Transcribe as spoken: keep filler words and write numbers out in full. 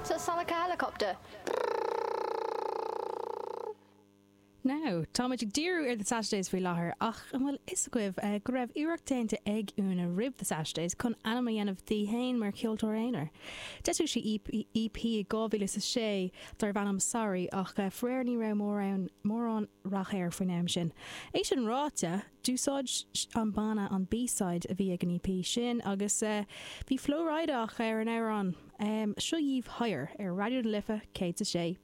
Does that sound like a helicopter? Now, táimid ag díriú ar The Saturdays faoi láthair ach an bhfuil fhios agaibh eh, go raibh iarracht déanta ag Úna roimh The Saturdays chun ainm a dhéanamh di féin mar cheoltóir aonair. D'eisigh sí EP i dhá mhíle is a sé darbh ainm Sorry ach eh, faraor ní raibh mórán mórán rath air faoin am sin. É sin ráite, d'úsáid an banna an B-side a bhí ag an EP sin agus eh, bhí Flo Rida ar an amhrán. Seo dhaoibh Higher ar Raidió na Life céad a sé